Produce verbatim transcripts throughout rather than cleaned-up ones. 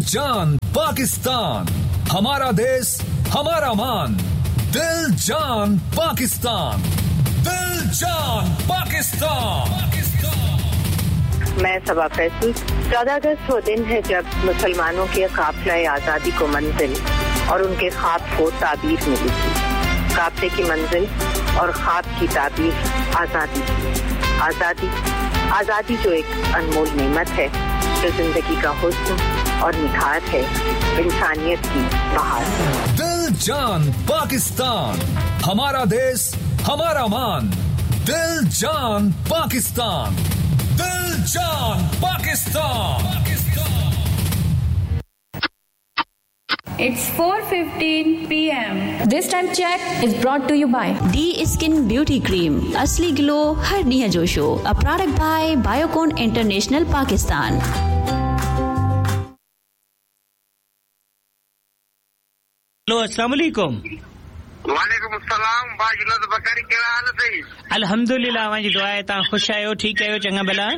जान पाकिस्तान, हमारा देश हमारा मान। दिल जान पाकिस्तान, दिल जान पाकिस्तान। मैं सबा फैसल। चौदह अगस्त वो दिन है जब मुसलमानों के काफिला आज़ादी को मंजिल और उनके ख्वाब को ताबीर मिली थी। काफिले की मंजिल और ख्वाब की ताबीर आज़ादी थी। आज़ादी आज़ादी जो एक अनमोल नेमत है, जो जिंदगी का हुस्न और निखार है, इंसानियत की बहार। दिल जान पाकिस्तान, हमारा देश हमारा मान। दिल जान पाकिस्तान, दिल जान Pakistan. It's four fifteen p m. This time check is brought to you by D Skin Beauty Cream. Asli glow हर ॾींहं जो show. A product by Biocon International Pakistan. Hello, अस्सलाम वालेकुम। वालेकुम अस्सलाम। भाई जुनैद बकारी, कहिड़ा हाल अथई? अल्हम्दुलिल्लाह, अव्हां जी दुआ आहे, तव्हां ख़ुशि आहियो, ठीकु आहियो, चङा भला?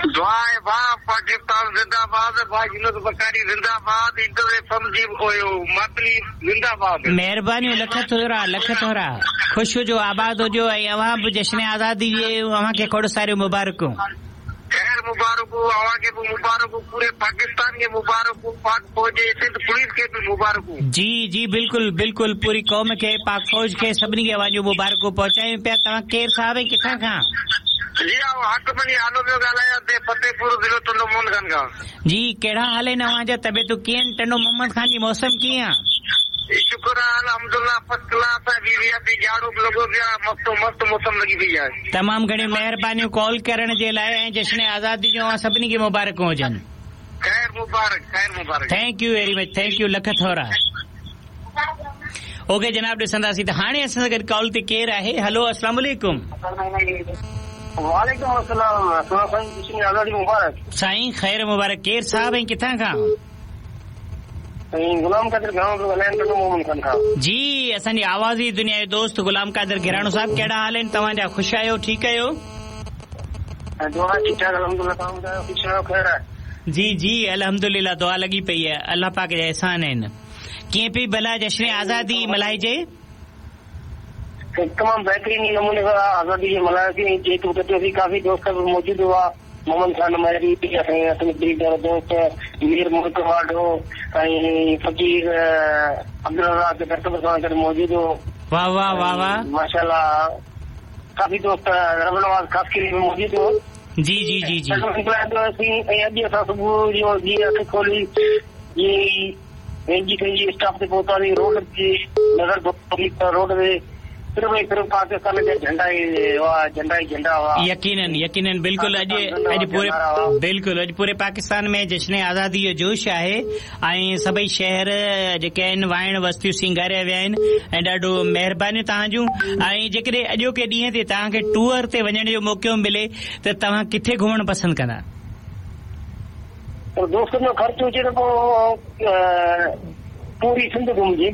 दुआ आहे भाउ, पाकिस्तान जिंदाबाद, भाई जुनैद बकारी जिंदाबाद, इंटर जी मातली जिंदाबाद। महिरबानियूं, लख थोरा, लख थोरा। ख़ुशि हुजो, आबाद हुजो ऐं अव्हां बि जश्न आज़ादी जे अव्हांखे खोड़ सारियूं मुबारकूं। ख़ैर मुबारकूं, अव्हांखे बि मुबारकूं, पूरे पाकिस्तान खे मुबारकूं, पाक फ़ौज सिंध पुलिस खे बि मुबारकूं। जी जी बिल्कुलु बिल्कुलु, पूरी क़ौम खे, पाक फ़ौज खे, सभिनी खे अव्हां जूं मुबारकूं पहुचायूं पिया। तव्हां केरु साहिब ऐं किथां खां? जी आउं हाकिम अली आलो पियो ॻाल्हायां, फतेहपुर ज़िलो टंडो मोहम्मद खान खां। जी कहिड़ा हाल आहिनि अव्हांजा, तबियतूं कीअं आहिनि? टंडो मोहम्मद खान जी मौसम कीअं आहे? शुक्र आहे अल्हम्दुलिल्लाह, फर्स्ट क्लास आहे, वी झाड़ू बि लॻो पियो आहे, मस्त मस्त मौसम लॻी पई आहे। तमामु घणियूं महिरबानियूं कॉल करण जे लाइ ऐं जश्न आज़ादी जूं अव्हां सभिनी खे मुबारकूं हुजनि। ख़ैर मुबारक, ख़ैर मुबारक। Thank you very much, thank you, lakh थोरा। ओके जनाब, ॾिसंदासीं त हाणे असां सां गॾु कॉल ते केरु आहे। हलो, अस्सलाम वालेकुम। वालेकुम अस्सलाम। साईं आज़ादी मुबारक। साईं ख़ैर मुबारक। केरु साहिब ऐं किथां खां? गुलाम कादिर घिराणो पियो ॻाल्हायां, टंडो मोहम्मद खान खां। जी, असांजी आवाज़ी दुनिया जो दोस्त गुलाम कादिर घिराणो साहिब, कहिड़ा हाल आहिनि तव्हांजा? ख़ुशि आहियो, ठीकु आहियो? दुआ ठीकु ठाक अल्हम्दुलिल्लाह, तव्हां ॿुधायो, ख़ुशि आहियो, ख़ैर आहे? जी जी अल्हम्दुलिल्लाह, दुआ लॻी पई आहे, अलाह पाक जा एहसान आहिनि। कीअं पई भला जश्न आज़ादी मल्हाइजे? तमामु बहितरीन नमूने सां आज़ादी खे मल्हायोसीं। जेतु कटियोसीं, काफ़ी दोस्त बि मौजूदु हुआ, मोहम्मद खान महरी, असांजे दोस्त मीर मुल्क वाडो ऐं फ़क़ीर अब्दुल रज़ाक डॉक्टर सां गॾु मौजूदु हो। वाह वाह वाह वाह, माशाअल्लाह काफ़ी दोस्त, रबनवाज़ ख़ासकिली बि मौजूदु हो। जी जी जी जी ऐं अॼु असां सुबुह जो जीअं अखि खोली, जीअं पंहिंजी पंहिंजी स्टॉप ते पहुतासीं, रोड जी नज़र रोड ते सिर्फ़ ऐं सिर्फ़ पाकिस्तान जा झंडा ई हुआ, झंडा ई झंडा हुआ। यकीनन यकीनन बिल्कुलु, अॼु अॼु पूरे बिल्कुलु अॼु पूरे पाकिस्तान में जश्न आज़ादी जो जोश आहे ऐं सभई शहर जेके आहिनि वाइण वस्तियूं सिंगारिया विया आहिनि ऐं ॾाढो महिरबानियूं तव्हांजूं। ऐं जेकॾहिं अॼोके ॾींहं ते तव्हांखे टूअर ते वञण जो मौक़ो मिले त तव्हां किथे घुमणु पसंदि कंदा? दोस्तनि जो ख़र्चु हुजे त पोइ पूरी सिंध घुमजे।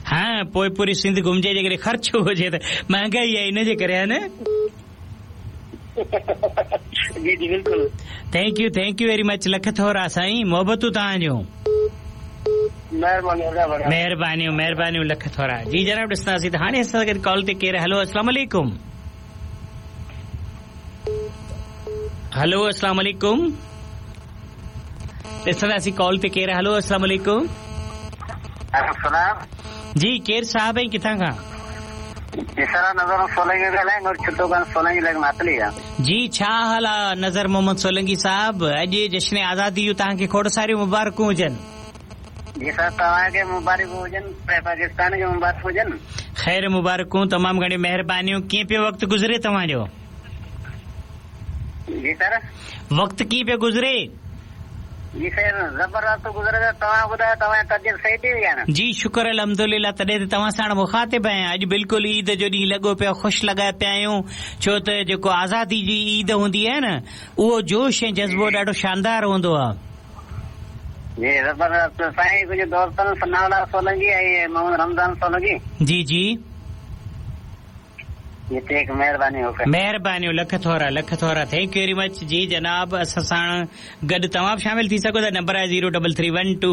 हा, पोइ पूरी सिंध घुमजे, जेकॾहिं ख़र्चु हुजे त महांगाई आहे इन जे करे, आहे न? जी जी बिल्कुलु। Thank you, thank you very much, lakh थोरा साईं, मोहबतूं तव्हांजूं। महिरबानियूं महिरबानियूं, लख थोरा। जी जनाब, ॾिसंदासीं त हाणे असां गॾु कॉल ते केरु। हलो, अस्सलाम वालेकुम। हलो, अस्सलाम वालेकुम। ॾिसंदासीं कॉल ते केरु। हलो, अस्सलाम वालेकुम। जी केरु साहिब ऐं किथां खां? नज़र सोलंगी ॻाल्हायां, छुटो खान सोलंगी लॻ मातली आहे। जी छा हाल आहे नज़र मोहम्मद सोलंगी साहिब? अॼु जश्न आज़ादी जूं तव्हांखे खोड़ सारियूं मुबारकूं हुजनि। जी सर, तव्हांखे मुबारकूं हुजनि, पाकिस्तान खे मुबारकूं हुजनि। ख़ैर मुबारकूं, तमामु घणियूं महिरबानियूं। कीअं पियो वक़्तु गुज़रे तव्हांजो? जी सर, वक़्तु कीअं पियो गुज़रे? जी सर, ज़बरदस्त गुज़रे पियो। तव्हां ॿुधायो, तव्हांजी तबियत सही थी वई आहे न? जी शुक्र अल्हम्दुलिल्लाह, तॾहिं त तव्हां सां मुखातिब आहियां। अॼु बिल्कुलु ईद जो ॾींहुं लॻो पियो, ख़ुशि लॻा पिया आहियूं, छो त जेको आज़ादी जी ईद हूंदी आहे न, उहो जोश ऐं जज़्बो ॾाढो शानदार हूंदो आहे। जी ज़बरदस्त साईं, कुझु दोस्तनि सनाउल्लाह सोलंगी ऐं मोहम्मद रमज़ान सोलंगी। जी जी हिते महिरबानी महिरबानियूं, लख थोरा, लख थोरा, thank you very much. जी जनाब, असां साण गॾु तव्हां बि शामिल थी सघो था। नंबर आहे zero double three one two